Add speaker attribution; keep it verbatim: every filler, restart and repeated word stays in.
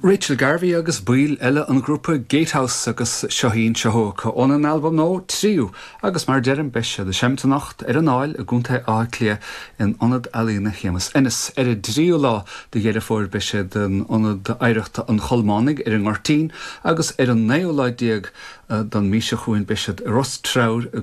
Speaker 1: Rachel Garvey agus baill eile an ghrúpa Gatehouse agus seo í seo óna n-albam nua Tríú agus mar deirim beidh siad ag seinm anocht ar an Aill i gContae Átha Cliath in Ionad Ealaíona Shéamus Ennis. Ar an dtríú lá de Dheireadh Fómhair beidh siad in Ionad Oidhreachta an Cholmánaigh ar an nGoirtín agus ar an naoú lá déag den mhí seo chugainn beidh siad i Ros Treabhair i